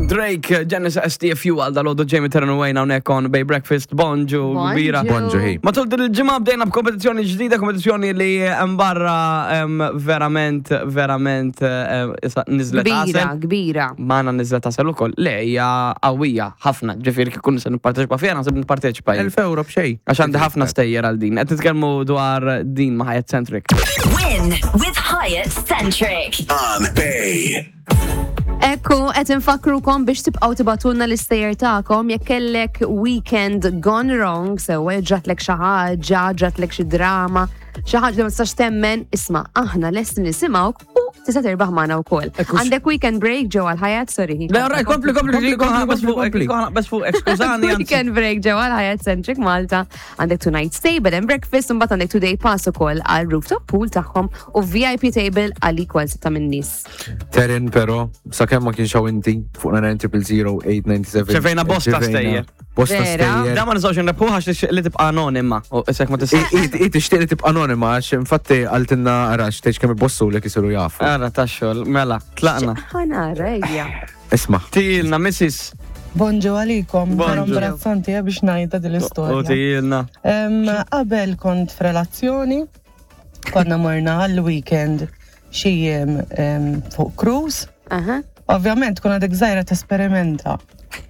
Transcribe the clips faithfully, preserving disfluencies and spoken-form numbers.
Drake, Genesis S T F U għal dal-għodu, Jamie Terran Wayne hawnhekk on Bay Breakfast. Bonġu, kbira. Bonġu, hey. Matul din il-ġimgħa bdejna b'kompetizzjoni ġdida, kompetizzjoni li hemm barra em, verament, verament em, issa nizlet Kbira, għasel. Kbira. Magħna nizlet għasel ukoll. Le, hija qawwija ħafna. Ġifieri kif kun se nipparteċipa fiha, naħseb nipparteċipa jien. Elf euro b'xejn. Għax għandi ħafna stejjer għal din. Qed nitkellmu dwar din ma' Hyatt Centric. Win with Hyatt Centric. On Bay. Ekku, qed infakrukom biex tibqgħu tibagħtulna l-istejjer tagħkom jekk kellek weekend gone wrong, sewwa ġratlek xi ħaġa, ġratlek xi drama, xi ħaġa li ma tistax temmen, isma', aħna lesti nisimgħuk u tista' terbaħ magħna wkoll. Għandek weekend break ġewwa l-Hyatt, sorry. Le, alright, kompli, kompli, Kompli, kompli, kompli. Bes fuq, skużani, anzi. Weekend break ġewwa l-Hyatt Centric Malta, għandek two night stay, bed and breakfast, u mbagħad għandek two day pass ukoll għal rooftop pool tagħhom u V I P table għal equal sitta minn nies. Terin, pero, sakemm ma kienx hawn inti fuq nine triple zero eight nine seven. Ċevejna bosta stejjer. Bosta Vera? stejjer. Da ma nistgħux nrebħu għax li tibqa' anonima. U isek ma tista' I tixtieq li tibqa' anonima għax infatti għaltinna arax tgħidx kemm ibossu li kisiru jafu. Ara tax-xogħol, mela, tlaqna. Ħa nara, ejja. Isma'. Tilna, Missus Bonġu għalikom, Bonġu. vera imbarazzanti eh, biex ngħidha din U l-istorja. tilna. Em, Qabel kont f'relazzjoni, konna morna għall-weekend xi jiem em, fuq cruise. Aha. Ovvjament, kun għadek żgħira tesperimenta.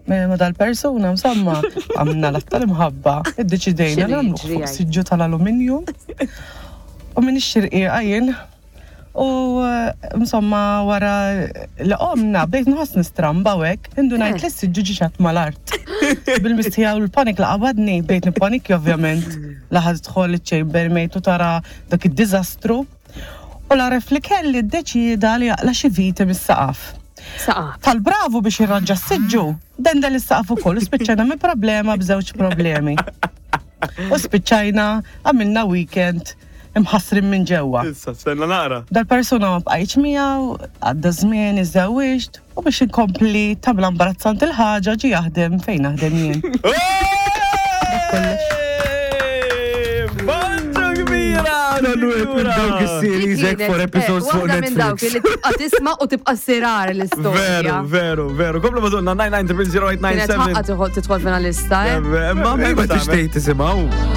Ma dal-persuna, insomma, għamna l tal-imħabba, iddeċidejna X'inhu nagħmlu jiġri fuq għaj? siġġu tal-alluminju. U minn ix-xirqiqa jien. U eh, insomma, wara li qomna, bdejt nħoss nistramba u hekk, indunajt Eh. li s-siġġu ġiċat mal-art. Bil-mistħija u l-panik la qabadni, bdejt nipanikja ovvjament. Laħad tħol il-chambermaid u tara dak id-dizastru. U l-għaref li kelli ddeċida li jaqla xi viti mis-saqaf. Saqaf. Tal-bravu biex jirranġa s-siġġu, dendel is-saqaf ukoll u spiċċajna minn problema b'żewġ problemi. U spiċċajna għamilna weekend imħassrin minn ġewwa. Issa, stenna naqra. Dal-persuna ma bqajtx miegħu, għadda żmien, iżżewwiġt u biex inkompli tabla imbarazzanti l-ħaġa ġi jaħdem fejn naħdem jien. Bonġu kbira! Minn dawk is-series hekk four episodes fuq Waħda minn dawk Netflix. li tibqa' tisma' u tibqa' sirar l-istorja. Veru, veru, veru. Komplu madonna Kienet nine nine zero zero eight nine seven. ħaqqa tidħol tidħol finalista, eh? Ma Ma tixtieq tisimgħu.